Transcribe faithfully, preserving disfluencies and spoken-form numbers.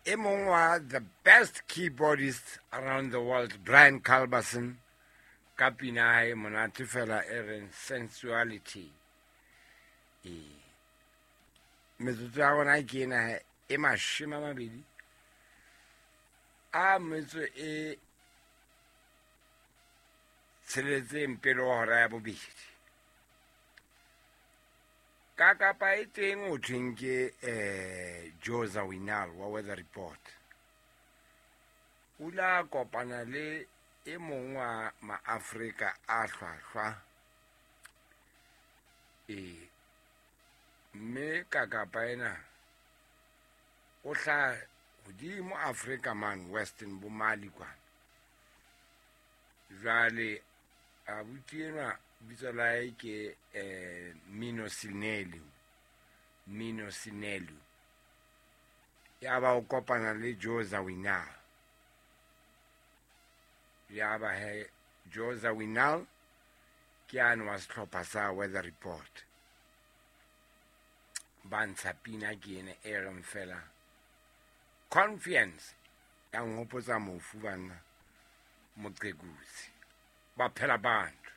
E mong wa the best keyboardist around the world, Brian Culbertson, ka pina ya hae monate fela e reng Sensuality. Ee, metsotso ya rona ke ena e mashome a mabedi a metso e tsheletseng pele ho hora ya bobedi. Ka kapa e teng ho thweng ke eh Joe Zawinul wa Weather Report. O ile a kopana le e mong wa maAfrika a hlwahlwa. E mme ka kapa ena o hlaha hodimo Afrika mane Western bo Mali kwana. Jwale abuti enwa bitso la hae ke eh Mino Cinelu. Mino Cinelu. Ya ba o kopana le Joe Zawinul. Ya ba he Joe Zawinul ke ane wa sehlopha sa Weather Report. Ba ntsha pina ke ena e reng fela Confiance, ya nhopotsa mofu banna Moqekusi. Ba phela bantu.